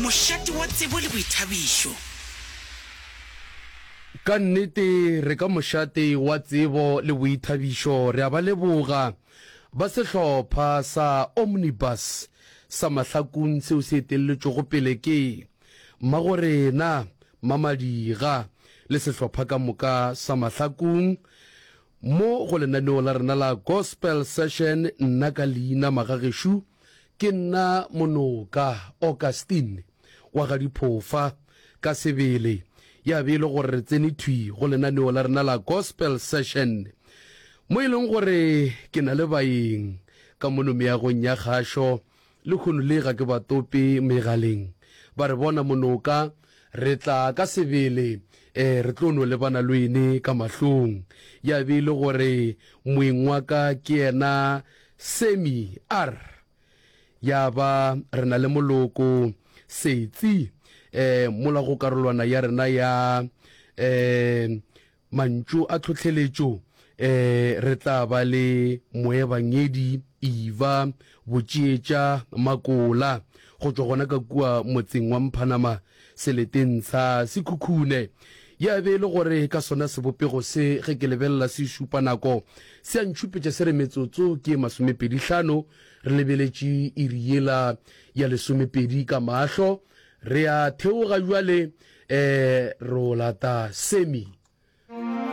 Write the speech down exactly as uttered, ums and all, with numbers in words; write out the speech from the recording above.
Mošate wa tsebo le boithabišo. Ka nnete re ka mošate wa tsebo le boithabišo. Re a ba leboga ba sehlopha sa Omnibus sa Mahlakung seo se etelletšwego pele ke Mmagorena Mamadiga le sehlopha ka moka sa Mahlakung mo go lenaneo la rena la Gospel Session. Nna ka leina magagešo ke nna Monoka Augustine wa ga Diphofa ka sebele, ya be e le gore re tsene thwi go lenaneo la rena la Gospel Session mo e leng gore ke na le baeng ka mono meagong ya kgašo lehono le ga ke ba tope megaleng ba re bona Monoka re tla ka sebele eh re tlo no lebana le wene ka mahlong. Ya be e le gore moeng wa ka ke yena Semi R, ya ba re na le moloko Setsi eh mola go karolwana ya rena ya eh mantšu a tlhohleletšo eh re tla ba le moebangedi Eva Botšietša Makola go tšwa gona ka kua motseng wa Mphanama seleteng sa Sekhukhune. Ya be e le gore ka sona sebopego se ge ke lebelela se šupa nako se a ntšhupetša se re metsotso ke masomepedi hlano re lebeletše iri yela ya lesomepedi ka mahlo. Re a theoga bjale eh ro lata Semi